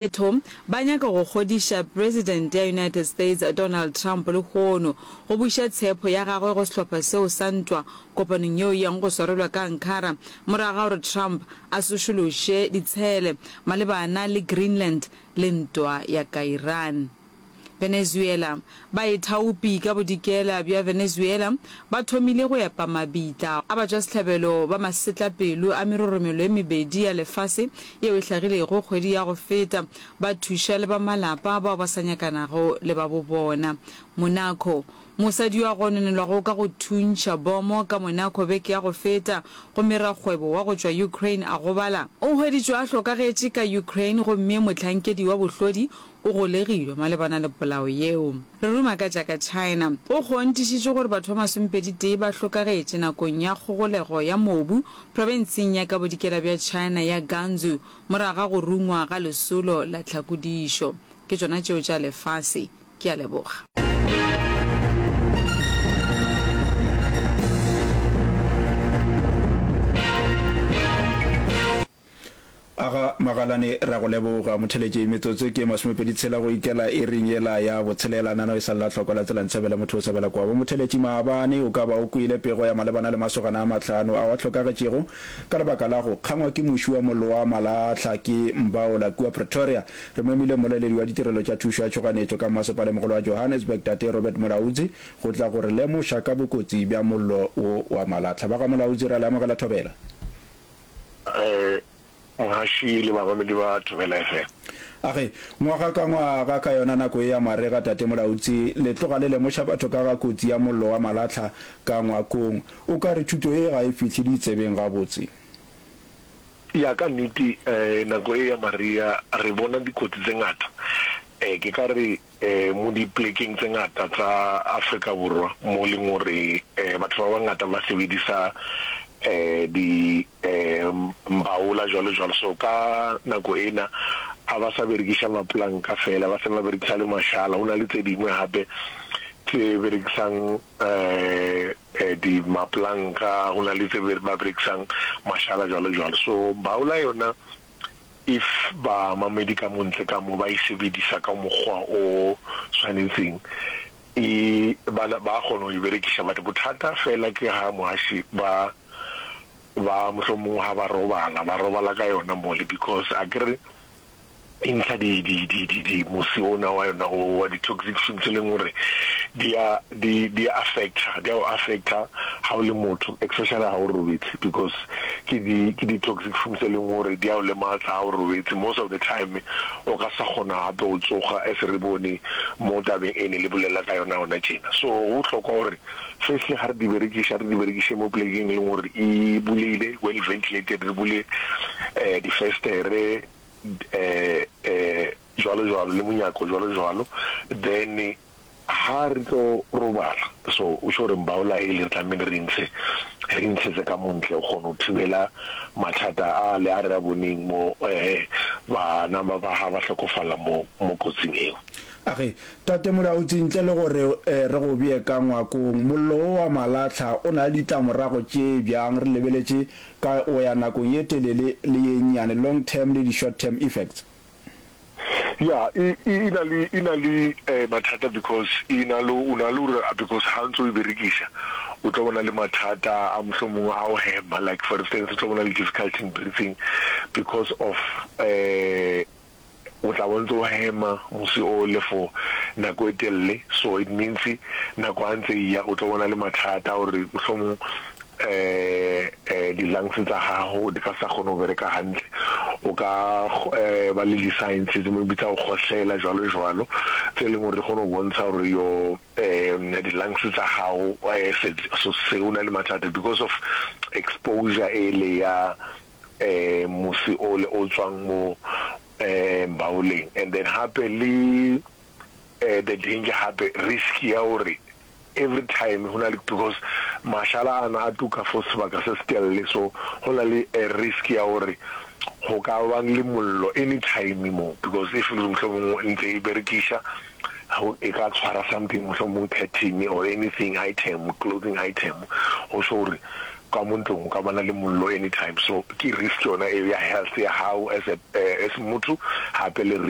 Batho ba nyaka go kgodiša President ya United States Donald Trump lehono go buša tshepo ya gagwe go sehlopha seo sa ntwa kopanong yeo e yang go swarelwa ka Ankara morago ga gore Trump a sošološe ditshele malebana le Greenland le ntwa ya ka Iran. Venezuela, Baithaopi ka bodikela bja Venezuela ba thomile go epa mabitla a batšwasehlabelo ba masetlapelo a meroromelo e mebedi ya lefase yeo e hlagilego kgwedi ya go feta, ba thuša le ba malapa bao ba sa nyakanago le ba bobona. Monaco, Mosadi yo a gononelwago ka go thuntšha bomo ka Monaco beke ya go feta gomme rakgwebo wa go tšwa Ukraine a gobala, o hweditšwe a hlokagetše ka Ukraine gomme mohlankedi wa bohlodi o golegilwe malebana le polao yeo. Re ruma ka tša ka China. Go kgonthišitšwe gore batho ba masomepeditee ba hlokagetše nakong ya kgogolego ya mobu profenseng ya ka bodikela bja China ya Gansu morago ga go rungwa ga lesolo la tlhakodišo. Ke tšona tšeo tša lefase. Ke a leboga. Aga Magalane ra go leboga motheletši metsotso ke masomepedi tshela go ikela iring yela ya botshelela nano e sa lla hloko la tsela ntshebele motho o sebela kwabo motheletši maabane o ka ba o kwele pego ya malebana le masogana a mahlano ao a hlokagetšego ka lebaka la go kgangwa ke muši wa mollo wa malahla ke Mbaola kua Pretoria re memile mmoleledi wa ditirelo tša thušo ya tšhoganetšo ka mmasepalemogolo wa Johannesburg Tate Robert Molaudzi go tla go re lemoša ka bokotsi bja mollo wo wa malahla ba ga Molaudzi ra le amogela thobela. Mohaši le bamamedi ba Thobela FM. A re, Ngwaga ka ngwaga ka yona nako ye ya marega, Tate Molautsi, le tloga le lemoša batho ka ga kotsi ya mollo wa malahla ka ngwakong. O ka re thuto ye ga e fihle ditsebeng gabotse? Ya, ka nnete, nako ye ya maria re bona dikotsi tse ngata. Ke ka re Mo dipolekeng tse ngata tsa Afrika Borwa mo e leng gore batho ba bangata ba sebedisa di mbaola jwalo jwalo, so ka nako ena a ba sa berekisa mapolanka fela, ba se ba berekisa le mashala. Ho na le tse dingwe hape tse berekisang di mapolanka, ho na le tse ba berekisang mashala jwalo jwalo. So mbaola yona If bamamedi ka mo ntle ka mo ba e sebedisa ka mokgwa o swanetseng, e ba ba kgona go e berekiša. But bothata fela ke ha moaši ba ba mohlomongwe ha ba robala, ba robala ka yona mole because akere e ntsha di di di di di mosi ona wa yona o wa di toxic fumes e leng gore di a di di a affecta, di a o affecta ha o le motho especially ha o robetse because Ke di ke di toxic fumes tse leng gore di a o lematsa ha o robetse most of the time o ka sa kgona hape go tsoga as re bone mo tabeng e ne le bolela ka yona gona tjena. So go bohlokwa gore firstly ga re di berekiša re di berekiše mo plekeng e leng gore e buleile well ventilated re bule di festere jwalo jwalo le monyako jwalo jwalo then Ha re tlo robala, so o tjho gore mbaola ele re tlamehile re ntshe, re ntshetse ka mo ntle go kgona go thibela mathata a le a re a boneng mo bana ba ba ha ba hlokofala mo mo kotsing eo. A re, Tate Molautsi, ntle le gore re go bee ka ngwakong, mollo wo wa malahla o na le ditlamorago tše bjang re lebeletše ka go ya nakong ye telele le ye nnyane, long term le di short term effects? Ya, e, e, e na le, e na le eh, mathata because e na le, o na le gore because ha ntse o e berekisa o tlo bona le mathata a mohlomongwe a go hema, like for instance o tlo bona le difficulty in breathing because of eh, o tla bo ntse o hema mosi o le for nako e telele, so it means nako ha ntse e ya o tlo bona le mathata a gore mohlomong di-lungs tsa gago di ka sa kgone go bereka hantle, o ka ba le di-signs tse mo bitsa go kgohlela jwalo jwalo, tse e leng gore di kgone go bontsha gore your di-lungs tsa gago so se o na le mathata because of exposure ele ya mosi ole o tswang mo mbaoleng. And then hape le the danger hape risk ya gore every time go na le because mashala ana a tuka for sebaka se se telele so go na le a risk ya gore go ka bang le mollo anytime mo because if mohlomongwe ntse e berekiša e ka tshwara something mohlomongwe curtain or anything item clothing item go sho gore. Ka mo ntlong go ka bana le mollo anytime, so ke risk yona eo ya health ya gago as a as motho, gape le risk.